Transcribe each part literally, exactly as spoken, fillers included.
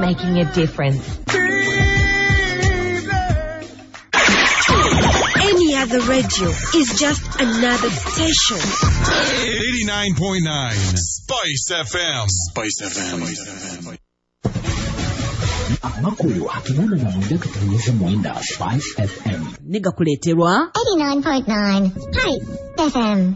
Making a difference. Any other radio is just another station. eighty-nine point nine Spice F M. Spice F M. Amakuru akinana na mwenda katunyesha mwenda Spice F M. Niga kuleterwa eighty-nine point nine Spice F M.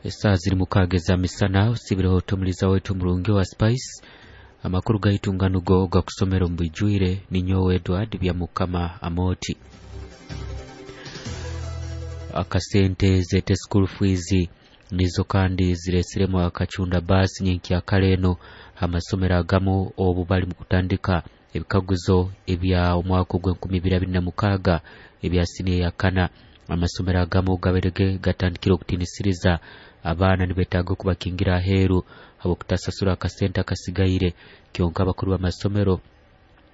Saa ziri mukaaga misana usibireho tumuliza wetu murungi wa Spice. Amakuru gaitunganugo gakusomera omu ninyowe Edward Byamukama Amoti. Akasente zete school fees nizo kandi ziresiremu akachunda basi nyenki akaleno amasomero agamu obu bali mu kutandika ebikaguzo ebya omwaka ogw'enkumi ibiri abiri na mukaaga ebya siniya ya kana. Amasomero agamu gaberege gatandikire okutinisiriza abaana nibetaaga okubakingira aheeru habw'okutasasura akasente akasigaire. Kyonka abakuru b'amasomero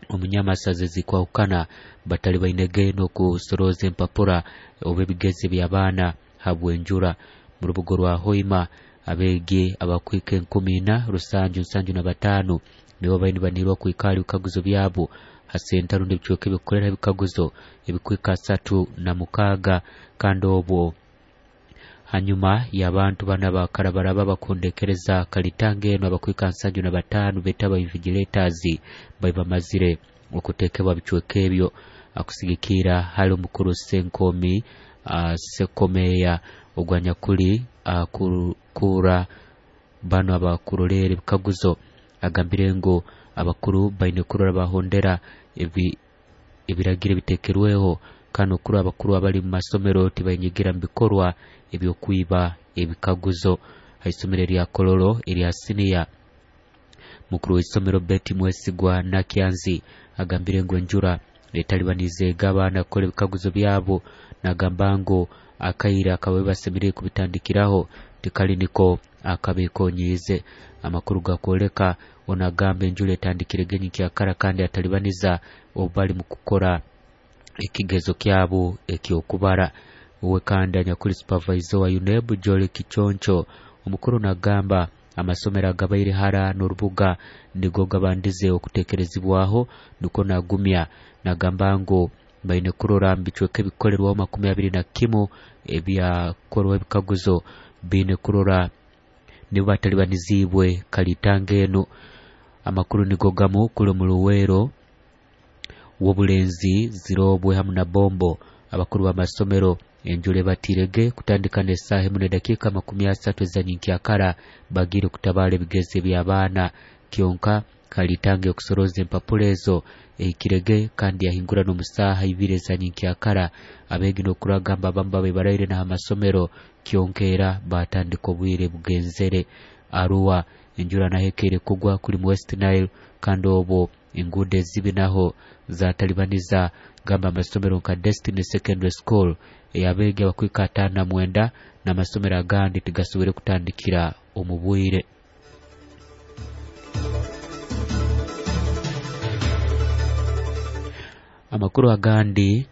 omunyamasazi zikwahukana batali bainege n'okusoroza empapura oba ebigezi by'abaana habw'enjura. Mu rubuga rwa Hoima abeegi abakwika enkumi ina rusanju nsanju na bataano nibo baine banirwa kwikara ebikaguzo byabo hasenta rundi ebicweka ebikukorera ebikaguzo ebikwika asatu na mukaaga. Kandi obwo hanyuma y'abantu bana bakarabaraba bakundekereza kalitanga eno abakwika nsanju na bataano betaba invigilators baibamazire okutekebwa bicweka ebyo. Akusigikira hali omukuru Senkomi uh, Sekomeya ogwanyakuli uh, kura bano abakurolera ebikaguzo agambire ngu abakuru baine kurora bahondera ebi ebiragiro bitekerweho kano kuru abakuru abali mu masomero tibayinyigira mu bikorwa ebyokwiba ebikaguzo. Haisomero lya Kololo erya siniya mukuru w'isomero Betty Mwesigwa Nakyanzi agambire ngu enjura etalibanize abaana kukola ebikaguzo byabo, nagamba ngu akaira akababe basemerire kubitandikiraho tikali niko akabekonyize. Amakuru gakwoleka onagamba enjura etandikire genyi kyakara kandi atalibaniza obali mu kukora ekigezo kyabo ekyokubara. Uwe kandi anyakuli supervisor wa UNEB Jolly Kichoncho omukuru nagamba amasomero agabaire hara n'orubuga nigo gabandize okutekerezibwaho niko nagumya nagamba ngu baine kurora mbicweka ebikolerwaho makumi abiri na kimu ebyakorwa ebikaguzo bine kurora nibo batalibanizibwe kalitanga eno. Amakuru nigo gamu kuli mu Luweero w'obulenzi Zirobwe hamu na Bombo abakuru b'amasomero enjule batirege kutandika n'essaaha emu n'edakiika makumi asatu ezanyinkya bagire kutabala ebigezi by'abaana. Kyonka kalitange okusoroza empapula ezo ehikirege kandi yahingura n'omusaaha ibiri ezanyinkya abeegi n'okuragamba abamu babe baraire n'amasomero kyonkeera batandika obwire bugenzere. Arua enjura nahekeire kugwa kuli mu West Nile kandi obwo enguudo ezibi naho zatalibaniza gamba amasomero nka Destiny Secondary School eyabeegi abakwika ataano na mwenda n'amasomero agandi tigasobore kutandikira omu bwire. Amakuru agandi,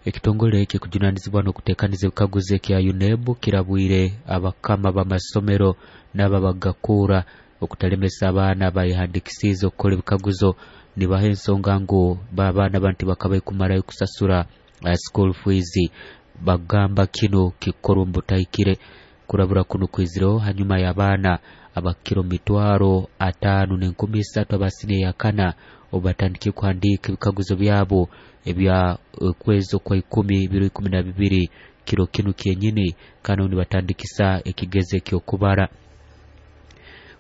ekitongole ekikujunanizibwa n'okuteekaniza ebikaguzo ekya UNEB kirabwire abakama b'amasomero n'ababagakura okutalemesa abaana bayihandikisize okukola ebikaguzo. Nibaha ensonga ngu babaana banti bakabaye kumarayo kusasura uh, school fees. Bagamba kino kikorwa mbutahikire. Kurabura kuno kwizireho hanyuma y'abaana abakiro mitwaro ataano n'enkumi isatu abasiniya ya kana obubatandikire kuhandiika ebikaguzo byabo ebya kwezi kwa ikumi biro ikumi na bibiri kiro kinu kyenyini kano nibatandikisa ekigezo ekyokubara.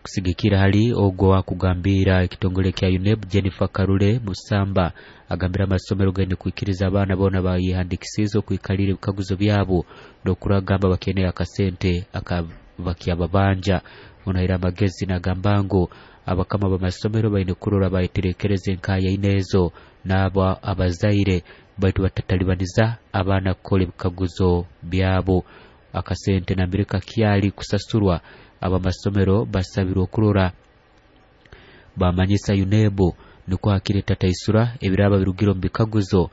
Kusigikira hali ogwo wakugambira ekitongole kya UNEB Jennifer Karule Musamba agambira amasomero gaine kuikiriza abaana bona bayihandikisize okwikalira ebikaguzo byabo n'okuragamba bakeneye akasente akabakyababanja. Onahira amagezi nagamba ngu abakama b'amasomero baine kurora bayeterekereza enkaya inezo n'abo abazaire baitu batatalibaniza abaana kukola ebikaguzo byabo. Akasente nambere kakyali kusasurwa abamasomero basabirwa okurora bamanyisa UNEB niko hakire tataisura ebiraba birugiro mu bikaguzo